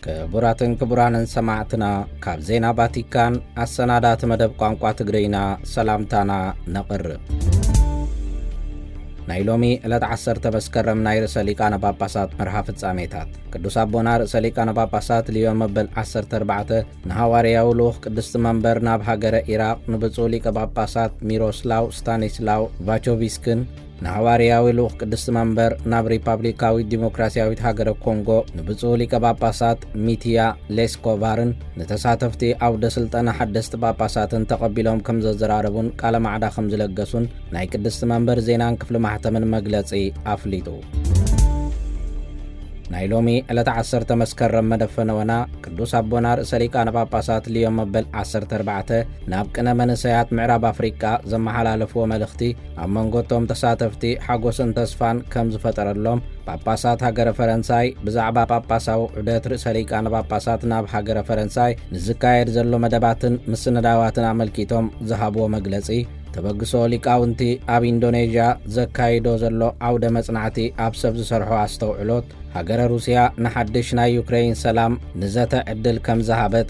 ክቡራትን ክቡራንን ሰማዕትና፣ ካብ ዜና ቫቲካን ኣሰናዳእቲ መደብ ቋንቋ ትግርይና ሰላምታና ነቕርብ። ናይ ሎሚ ዕለት ዓሰርተ መስከረም ናይ ርእሰ ሊቃነ ጳጳሳት መርሃ ፍጻሜታት። ቅዱስ ኣቦና ርእሰ ሊቃነ ጳጳሳት ሊዮን መበል ዓሰርተ ኣርባዕተ ንሃዋርያዊ ልኡኽ ቅድስቲ መንበር ናብ ሃገረ ኢራቕ ንብፁዕ ሊቀ ጳጳሳት ሚሮስላው ስታኒስላው ቫቾቪስክን፣ ንሃዋርያዊ ልኡኽ ቅድስቲ መንበር ናብ ሪፓብሊካዊት ዲሞክራሲያዊት ሃገረ ኮንጎ ንብፁዕ ሊቀ ጳጳሳት ሚትያ ሌስኮቫርን፣ ንተሳተፍቲ ኣውደ ስልጠና ሓደስቲ ጳጳሳትን ተቐቢሎም ከም ዘዘራረቡን ቃለ ማዕዳ ከም ዝለገሱን ናይ ቅድስቲ መንበር ዜናን ክፍሊ ማሕተምን መግለጺ ኣፍሊጡ። ናይ ሎሚ ዕለት ዓሰርተ መስከረም መደፈነወና ቅዱስ ኣቦና ርእሰ ሊቃነ ጳጳሳት ሊዮን መበል ዓሰርተ ኣርባዕተ ናብ ቅነ መንእሰያት ምዕራብ ኣፍሪቃ ዘመሓላለፍዎ መልእኽቲ ኣብ መንጎ እቶም ተሳተፍቲ ሓጎስን ተስፋን ከም ዝፈጠረሎም፣ ጳጳሳት ሃገረ ፈረንሳይ ብዛዕባ ጳጳሳዊ ዑደት ርእሰ ሊቃነ ጳጳሳት ናብ ሃገረ ፈረንሳይ ንዝካየድ ዘሎ መደባትን ምስንዳዋትን ኣመልኪቶም ዝሃብዎ መግለጺ፣ ተበግሶ ሊቃውንቲ ኣብ ኢንዶኔዥያ ዘካይዶ ዘሎ ዓውደ መጽናዕቲ ኣብ ሰብ ዝሰርሖ ኣስተውዕሎት፣ ሃገረ ሩስያ ንሓድሽ ናይ ዩክሬይን ሰላም ንዘተ ዕድል ከም ዝሃበት